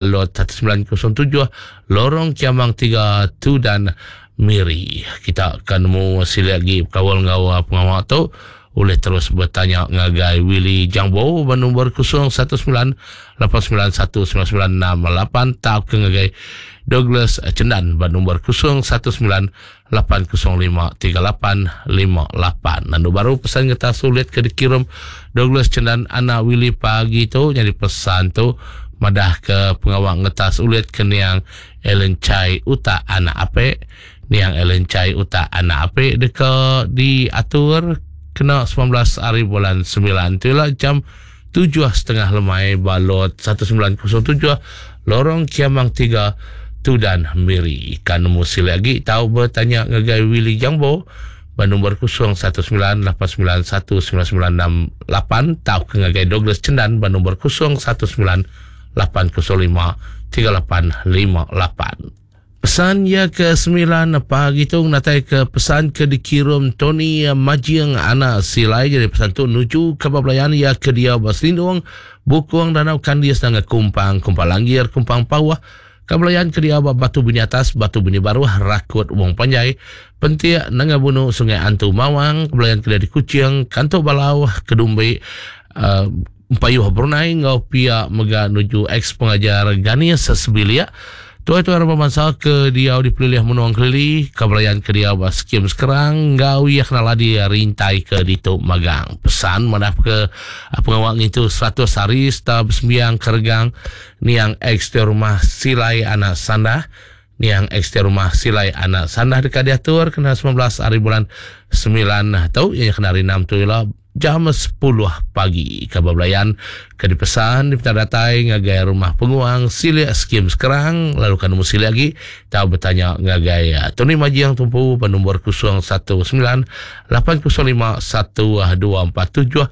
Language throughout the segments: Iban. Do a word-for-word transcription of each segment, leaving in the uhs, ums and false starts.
Lot satu sembilan kosong tujuh, Lorong Kiamang tiga, Tudan, Miri. Kita akan nemu silik lagi kawal ngau pengawal tu. Boleh terus bertanya ngagai Willy Jangbo bernombor kosong satu sembilan lapan sembilan satu sembilan sembilan enam lapan atau ke ngagai Douglas Cendan bernombor kosong satu sembilan lapan kosong lima tiga lapan lima lapan. Lalu baru pesan kita sulit ke dikirim Douglas Cendan anak Willy pagi tu, jadi pesan tu madah ke pengawal ngetas ulit ke niang Ellen Chai Utak anak Apek. Niang Ellen Chai Utak anak Apek deka diatur kena sembilan belas hari bulan sembilan tu lah jam tujuh setengah lemai balot satu sembilan kosong tujuh Lorong Kiamang tiga Tudan Miri. Kan nemu sila lagi tahu bertanya ngagai Willy Jangbo bernombor kosong satu sembilan lapan sembilan satu sembilan sembilan enam lapan tahu ke ngagai Douglas Cendan bernombor kosong satu sembilan lapan kosong lima tiga lapan lima lapan. Pesan ya ke sembilan pagi tu natai ke pesan ke dikirim Tony Majiang anak Silai. Jadi pesan tu nuju ke belayan ya ke dia berselindung Bukung Danau Kandis dengan Kumpang, Kumpang Langgir, Kumpang Pawah. Kebelayan ke dia Batu Bini Atas, Batu Bini Baruh, Rakut Wong Panjai, Pentiak Nanga Bunu, Sungai Antu Mawang, kebelayan ke dia di Kuching, Kantuk Balau, Kedumbi, uh, Payuh Brunei, ngau pihak mega nuju ex pengajar Ganis Sebilia. Tuai-tuai orang bangsa ke dia di pelilih menuang kelili, kebelayan ke dia skim sekarang, ngau ia kenal dia rintai ke dituk magang. Pesan mana ke pengawal itu seratus hari setelah bersembiang kergang niang ex di rumah Silai anak Sandah. Niang ex di rumah Silai anak Sandah dekat diatur kena sembilan belas hari bulan sembilan tu, yang kena hari enam tu ialah jam sepuluh pagi. Kabar belayan ke dipesan di datai ngagai rumah penguang Silik Skim sekarang, lalu kan nemu silik lagi tahu bertanya ngagai Tony Majiang tumpu bernombor kosong satu sembilan lapan kosong lima satu dua empat tujuh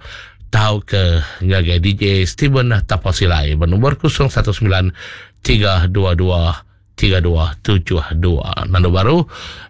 tahu ke ngagai D J Steven Tapasilai bernombor kosong satu sembilan tiga dua dua tiga dua tujuh dua. Nando baru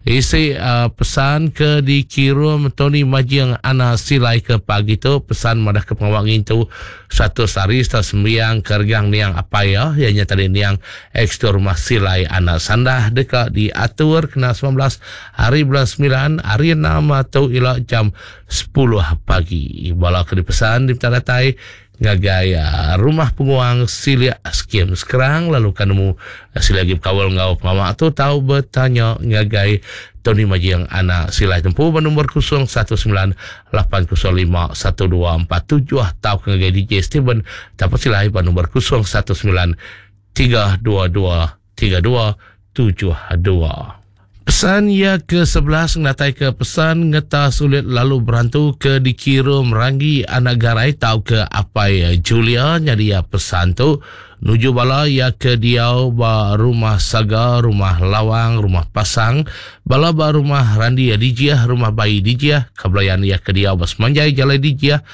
isi, uh, pesan ke dikirim Tony Majiang Ana Silai ke pagi tu, pesan madah ke pengawal ngintu satu hari setelah sembiang kergang niang apa ya, ianya tadi niang ex tu rumah Silai Ana Sandah dekat diatur kena sembilan belas hari bulan sembilan hari enam atau ila jam sepuluh pagi. Bala ke dipesan di datai ngagai, uh, rumah penguang Silik Skim sekarang, lalu kan nemu, uh, Silik lagi berkawal ngau pengawal tu tahu bertanya ngagai Tony Majiang anak Silai tempuh bernombor kosong satu sembilan lapan kosong lima satu dua empat tujuh tahu ngagai D J Steven Tapak Silai bernombor kosong satu sembilan tiga dua dua tiga dua tujuh dua. Pesan ya ke sebelas ngatai ke pesan ngeta sulit lalu berantu ke dikirim Ranggi anak Garai tau ke apai Julia. Jadi ya pesan tu nuju bala ya ke diau ba rumah Saga, rumah Lawang, rumah Pasang, bala ba rumah Randi ya Dijiah, rumah Bayi Dijiah, kebelayan ya ke diau ba Semanjai Jalai Dijiah,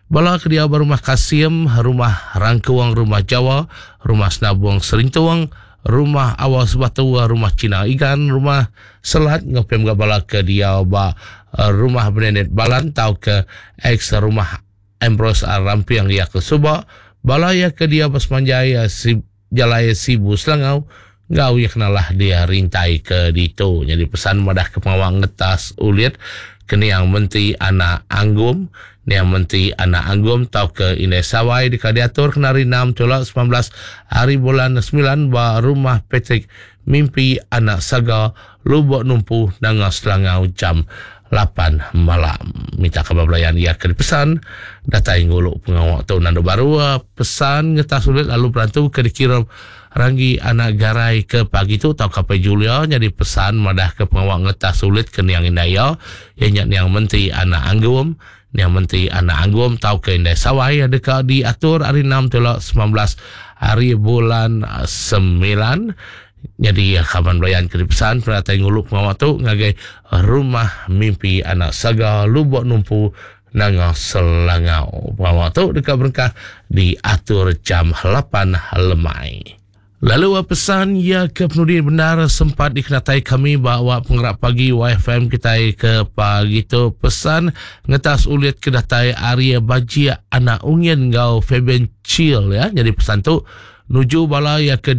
bala ke diau ba rumah Kasim, rumah Rangkuang, rumah Jawa, rumah Senabung Serintuang, rumah Awas Batu, rumah Cina Igan, rumah Selat, ngopem gak bala ke dia ba, eh, rumah Benenet Balan tau ke ex rumah Ambrose Rampiang ya ke Subak, bala ya ke dia ba Semanjai, eh, si, Jalai Sibu Selangau, ngau ya kenalah dia rintai ke ditu. Jadi pesan madah ke pengawal ngetas ulit ke niang Menteri Anak Anggum, niang Menteri Anak Anggum tau ke Indai Sawai di Kadiatur kena hari enam tolak sembilan belas hari bulan sembilan ba rumah Patrick Mimpi Anak Saga Lubok Numpu Nanga Selangau jam lapan malam. Minta khabar belayan ia ke pesan datai nguluk pengawal tu nando baru pesan ngetas sulit lalu berantu ke dikirim Ranggi Anak Garai ke pagi tu tau kapai Julia. Jadi pesan madah ke pengawal ngetas sulit ke niang Indaya ianya niang Menteri Anak Anggum, niang Menteri Anak Anggum tau ke Indai Sawai dekat diatur hari enam tolak sembilan belas hari bulan sembilan. Jadi kawan belayan ke pesan peratai nguluk pengawal tu ngagai rumah Mimpi Anak Saga Lubok Numpu Nanga Selangau. Pengawal tu dekat berengkah diatur jam lapan lemai. Lalu pesan ya ke penudi benar sempat dikenatai kami bahawa penggerak pagi Y F M kita ke pagi tu pesan ngetas ulit ke datai Arya Bajia Anak Ungin ngau Fabian Chill ya. Jadi pesan tu Nuju bala ya ke